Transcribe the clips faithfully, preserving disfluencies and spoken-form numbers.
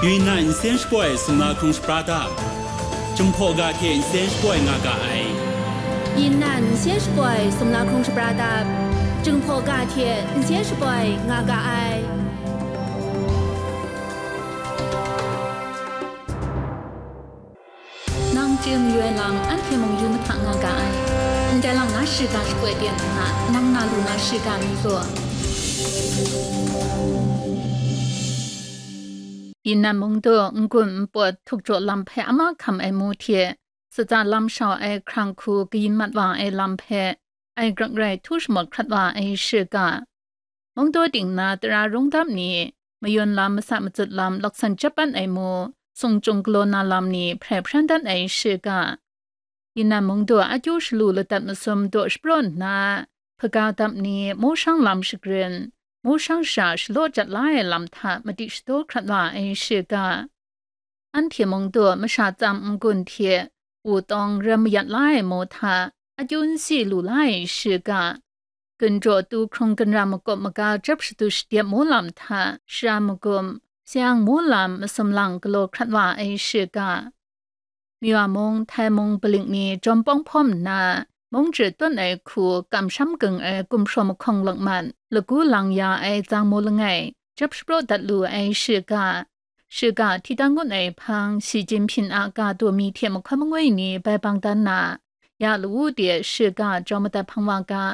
Yunnan nsen shapoi sumla hkrung shapra dap, Jinghpaw ga hte nsen shapoi nga ga ai. Yunnan nsen shapoi sumla hkrung shapra dap, Jinghpaw ga hte nsen shapoi nga ga ai. Nang chye mayu ai lam anhte mung yu mahta nga ga ai. Ndai lang na shiga shapoi ten nna, nang na lu na shiga mi gaw. Yunnan mungdaw n-gun n-pawt htuk jaw lam hpe ama hkam ai mu hte, sutsa lam shau ai hkrang hku kayin mat wa ai lam hpe, ai grak rai htu shamawt hkrat wa ai shiga. Mungdaw ting na tara rung dap ni, mayun lam, masa matsut lam, laksan jep pan ai mu, sung chyung galaw na lam ni hprai hpran dat ai shiga. Yunnan mungdaw akyu shalu ladat masum daw shapraw nna, hpaga dap ni, mushang lam shagrin, mushang sha shalaw jat la ai lam hta madi shadaw hkrat wa ai shiga. Anhte mungdaw masha tsam n-gun hte wutawng ram mayat la ai mu hta akyu n si lu la ai shiga. Gunjaw tu hkrung gunra makawp maga jap shadu shadep mu lam hta shara magum, sayang mu lam masum lang galaw hkrat wa ai shiga. Myawa mung, Htai mung, Balik ni jawm pawng hpawm nna, mung jahtawn ai hku kamsham gang ai gumhpraw mahkawng lakman lagu lang ya ai zang mu langai jap shapraw dat lu ai shiga. Shiga hti dan ngut ai hpang, Shi Jinhping a ga daw mi hte mahkawn mangwi ni bai bang dan na, ya lawu de shiga jau madat hpang wa ga.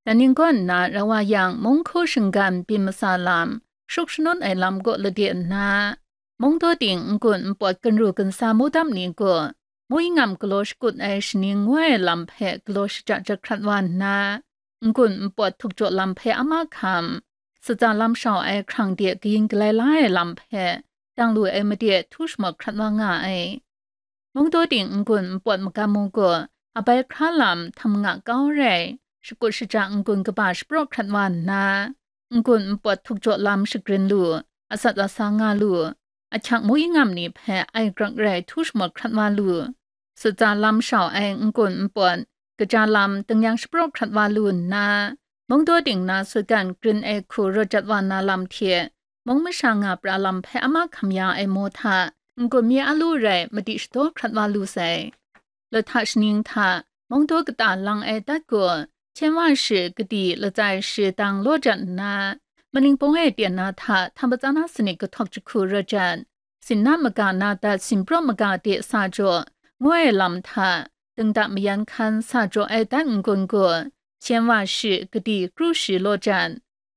Dan ning gaw nna rau wa yang, mung hku shinggan byin masa lam, shruk shanun ai lam gaw lade nna, mungdaw ting n-gun n-pawt gunru gunsa mu dam ni gaw, mu ingam galaw shakut ai shaning ngoi ai lam hpe galaw shaja jahkrat wa nna, n-gun n-pawt htuk jaw lam hpe ama hkam, sutsa lam shau ai hkrang de kayin galai la ai lam hpe, dang lu ai made htu shamawt hkrat wa nga ai. Mungdaw ting n-gun n-pawt magam mu gaw, abai hkra lam htam nga kau rai, shakut shaja n-gun kaba shapraw hkrat wa nna, n-gun n-pawt htuk jaw lam shagrin lu, atsat atsa nga lu, ahkyang mu ingam ni hpe ai grak rai htu shamawt hkrat wa lu, sutsa lam shau ai n-gun n-pawt, kaja lam, tingnyang shapraw hkrat wa lu nna, mungdaw ting na sutgan grin ai hku rawt jat wa na lam hte, mung masha nga pra lam hpe ama hkam ya ai mu hta, n-gun mi a lu rai madi shadaw hkrat wa lu sai. Lahta shaning hta, mungdaw kata lang ai dat gaw, hpyen wa shi kadi latsai shi dang law jat nna, maning pawng e ten na hta htam patsa na sanit kahtawk jahku rawt jat, sinna maga na dat sinpraw maga de sa jaw, ngu ai lam hta, dingda mayan hkan sa jaw ai dat n-gun gaw, hpyen wa shi kadi kru shi law jat,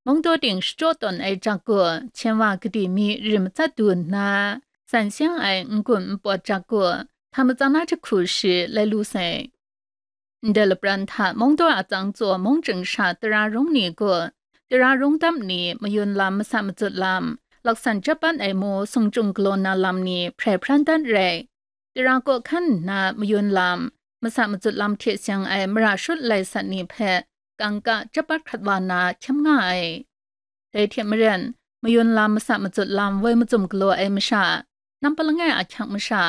mungdaw ting shachyaw tawn ai jak gaw, hpyen wa kadi mi rim matsat du nna, san seng ai n-gun n-pawt jak gaw, htam matsa na jahku shi lai lu sai. Ndai lapran hta mungdaw atsang tsaw mung chying sha tara rung ni gaw, tara rung dam ni, mayun lam, masa matsut lam, laksan jep pan ai mu, sung chyung galaw na lam ni hprai hpran dan rai, tara kaw hkan nna mayun lam, masa matsut lam hte seng ai mara shut lai sat ni hpe kangka jep pat hkrat wa na hkyam nga ai. Dai hte maren, mayun lam, masa matsut lam, woi mazum galaw ai masha, nampa langai ahkyang masha,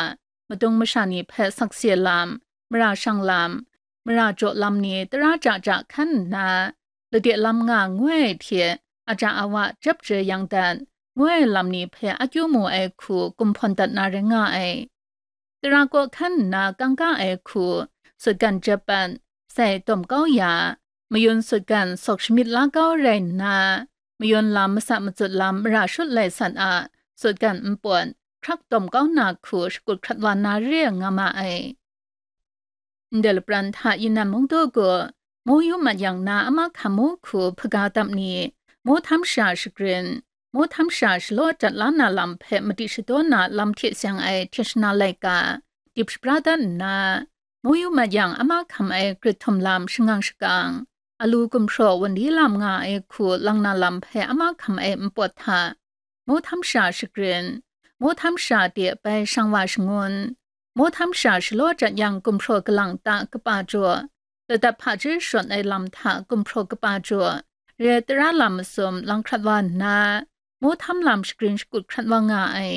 madung masha ni hpe sakse lam, mara shang lam, mara jaw lam ni tara ja ja hkan nna, lade lam nga ngoi ai hte aja awa jep jai yang dat, ngoi ai lam ni hpe akyu mu ai hku gumhpawn dat na rai nga ai. Tara kaw hkan nna kangka ai hku, sutgan jep pat, sai dawm kau ya, mayun sutgan sawk shamyit la kau rai nna, mayun lam, masa matsut lam, mara shut lai sat a sutgan npawt, hkrak dawm kau na hku shakut hkrat wa na re nga ma ai. Ndai lapran hta Yunnan mungdaw gaw, mu yu mat yang na ama hkam mu hku hpaga dap ni, mu htam sha shagrin, mu htam sha shalaw jat la na lam hpe madi shadaw na lam hte seng ai hte shana laika, dip shabra dat nna, mu yu mat yang ama hkam ai grit htum lam shangang shakang, alu gumhpraw wunli lam nga ai hku lang na lam hpe ama hkam ai npawt hta, mu htam sha shagrin, mu htam sha de bai shang wa shangun, mu htam sha shalaw jat yang gumhpraw kalang ta kapa jaw, ladat hpaji shawt ai lam hta gumhpraw kapa jaw, re tara lam masum lang hkrat wa nna, mu htam lam shagrin shakut hkrat wa nga ai.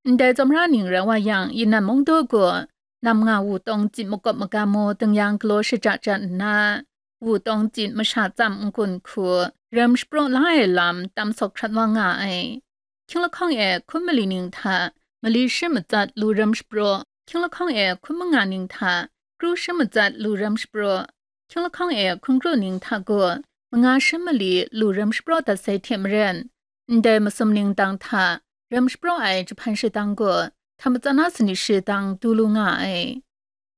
Ndai tsawmra ning rai wa yang, Yunnan mungdaw gaw, nam nga wutawng tsit makawp magam mu tingnyang galaw shaja jat nna, wutawng tsit masha tsam n-gun hku, rem shapraw la ai lam tam sawk hkrat wa nga ai. Hkying lahkawng e hkun mali ning hta mali shi matsat lu ram shapraw, hkying lahkawng e hkun manga ning hta kru shi matsat lu ram shapraw, hkying lahkawng e hkun kru ning hta gaw manga shi mali lu ram shapraw dat sai hte maren, ndai masum ning dang hta ram shapraw ai jahpan shadang gaw hta matsat na sanit shi dang du lu nga ai.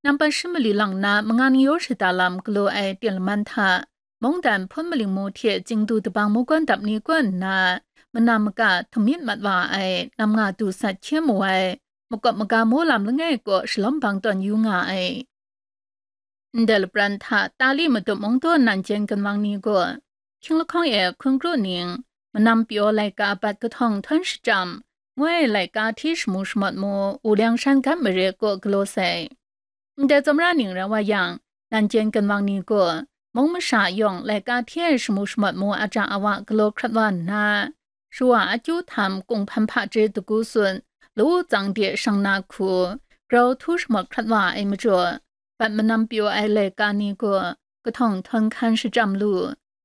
Nampat shi mali lang na manga ni yaw shada lam galaw ai ten laman hta, mungdan hpun maling mu hte Chingdu dabang mungkan dap ni kaw nna, manam maka htum myit mat wa ai nam nga du sat hkye mu ai, makawp maga mu lam langai kaw shalawm bang tawn yu nga ai. Ndai lapran hta Tali Matup Mungdaw nan jen ginwang ni gaw, hkying lahkawng e hkun kru ning, manam pyaw laika bat kahtawng htawn shachyam, ngoi laika hti shamu shamawt mu, u liang shan gat mare kaw galaw sai. Ndai tsawmra ning rai wa yang, nan jen ginwang ni gaw, mung masha yawng laika hti ai shamu shamawt mu aja awa galaw hkrat wa nna, shawa akyu htam kunghpan hpaje dagu sun, lawu tsang de shang na hku, grau htu shamawt hkrat wa ai majaw, bat manam pyaw ai laika ni gaw, kahtawng htawn hkan shachyam lu,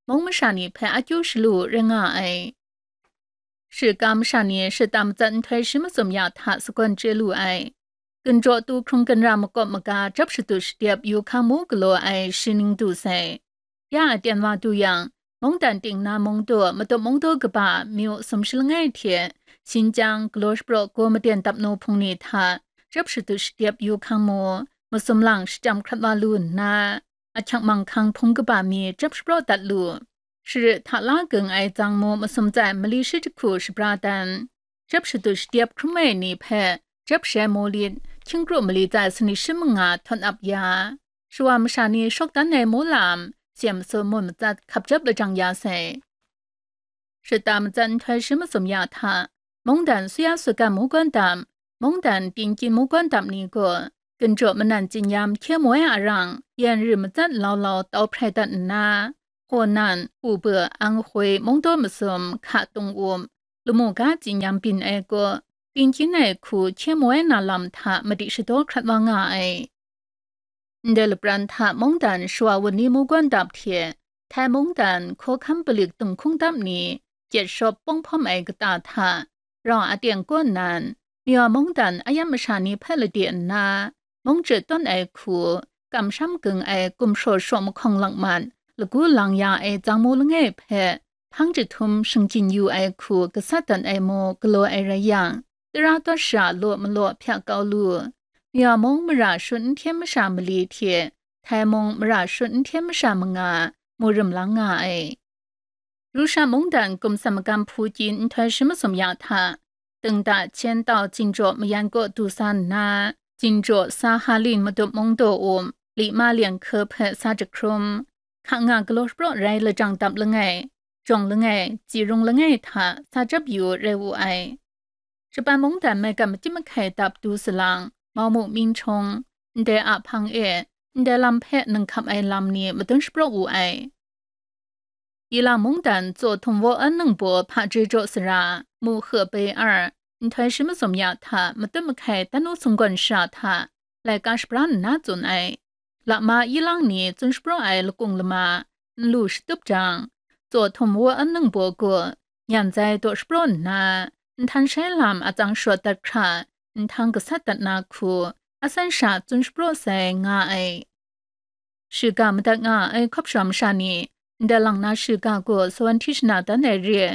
mung masha ni hpe akyu shalu rai nga ai. Shiga masha ni shata matsat nhtoi shi masum ya hta sagawn chye lu ai. Ginjaw tu hkrung ginra makawp maga jap shadut shadep yu hkang mu galaw ai shi ning du sai. Ya aten wa du yang, mungdan ting na mungdaw, matup mungdaw kaba myu sumshi langai hte, Xinjiang galaw shapraw gaw maden dap nu hpung ni hta, jap shadut shadep yu hkang mu, masum lang shachyam hkrat wa lu nna, ahkyak manghkang hpung kaba mi jap shapraw dat lu. Shara hta la gung ai tsang mu masum tsai mali shi jahku shabra dan, jap shadut shadep hkrum ai ni hpe jap shai mu lit, hkying kru mali tsai sanit shi manga htawn ap ya, shawa masha ni shawk dan ai mu lam, siem su mun matsat hkap jap lajang ya sai. Shata matsat nhtoi shi masum ya hta, mungdan suya sugan mungkan dam, mungdan tingkyin mungkan dam ni gaw, ginjaw manan tsinyam hkye moi arang, yan ri matsat lau lau tau hprai dat nna, Honan, Hubei, Anhui, mungdaw masum, hka tung um, lamu ga tsinyam byin ai gaw, tingkyin ai hku hkye moi na lam hta madi shadaw hkrat wa nga ai. Ndai lapran hta mungdan shawa wunli mungkan dap hte, Thai mungdan hkawhkam palik dinghkung dap ni, gyet shawp pawng hpawm ai kata hta, rau aten kaw nnan, Myaw mungdan ayam masha ni hpe lade nna, mung chye tawn ai hku, kamsham gung ai gumhpraw shaw mahkawng langman, lagu lang ya ai tsang mu langai hpe, hpang jahtum shingjin yu ai hku gasat dat ai mu galaw ai rai yang, tara tawt sha law malaw hpyak kau lu. Myaw mung mara shut n hten masha mali hte, Thai mung mara shut n hten masha manga mu rim lang nga ai. Rusha mungdan gumsam magam hpu kyin nhtoi shi masum ya hta, Dengda Chen tau Jinjaw mayan kaw du sa nna, Jinjaw sa Halin matup mungdaw um, Lima Lian hke hpe sa jahkrum, hka nga galaw shapraw rai lajang dap langai, jawng langai, tsi rung langai hta sa jap yu rai wu ai. Japan mungdan maigan makyit mahkai dap du salang, Maumu Minchung, ndai a hpang e, ndai lam hpe nang hkap ai lam ni madun shapraw wu ai. Yilang mungdan Tsaw Htum Waw En Ningbaw hpaje jaw sara, Mu He Bei Ar, nhtoi shi masum ya hta matut mahkai dan u sunggawn sha hta, laika shabra nna tsun ai. Lama yilang ni tsun shapraw ai lakung lama, n lu shatup jang, Tsaw Htum Waw En Ningbaw gaw, nyan zai daw shapraw nna, nhtan shai lam atsang shawt dat hkra, nhtang gasat dat na hku, asan sha tsun shapraw sai nga ai. Shiga madat nga ai hkawp shawm masha ni, ndai lang na shiga gaw sawan hti shana dan ai re,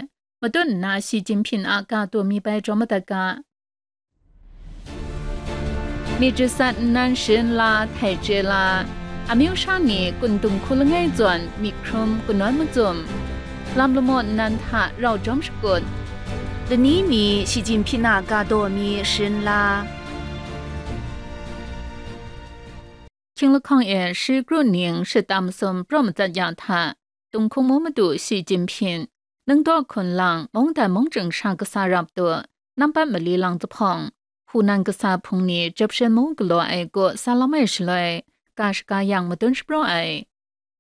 matut nna Xi Jinping a ga taw mi bai jaw madat ga. Myit jasat nnan sharin la, htai chye la, amyu sha ni kun dung hku langai zawn myit hkrum kanawn macum, lam lamaw nnan hta rau jawm shakut, lani mi Xi Jinping a ga daw mi sharin la. Hkying lahkawng e shi kru ning shata masum praw matsat ya hta, Tunghkung mu madu Xi Jinping, Ningdaw hkun lang mungdan mungchying sha kasa rap tu, nampat mali lang zahpawng, Hunan kasa hpung ni jep shen mu galaw ai kaw sa lam ai shaloi, ga shaga yang madun shapraw ai.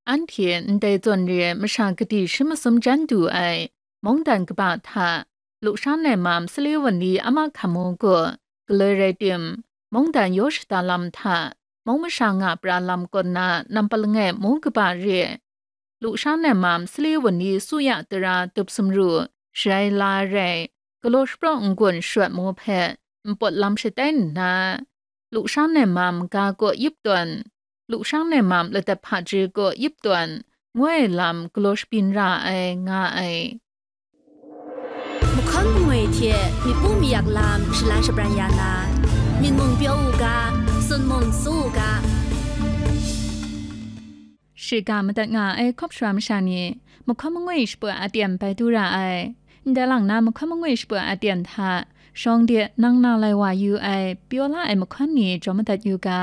Anhte ndai zawn re masha kadi shi masum jan du ai, mungdan kaba hta, Lusha Naimam Sali Wanli Ama Hkamu gaw, galoi rai tim, mungdan yaw shada lam hta, mung masha nga pra lam kaw na nampat langai mu kaba re, Lusha Naimam Sali Wanli Suya tara tup sumru, sharai la rai, galaw shapraw n-gun shawt mu hpe npawt lam shatai nna, lushan ai mam ga kaw yip tawn, lushan ai mam ladap hpaji kaw yip tawn, ngu ai lam galaw shabyin ra ai, nga ai. Mahkawn mangwi hte myit pu mayak lam shalan shabran ya na, myit mung pyaw u ga, sun mung su u ga. Shiga madat nga ai hkawp sara masha ni, mahkawn mangwi shaput aten bai du ra ai. Ndai lang na mahkawn mangwi shaput aten hta, shawng de nang na lai wa yu ai, pyaw la ai mahkawn ni jaw madat yu ga.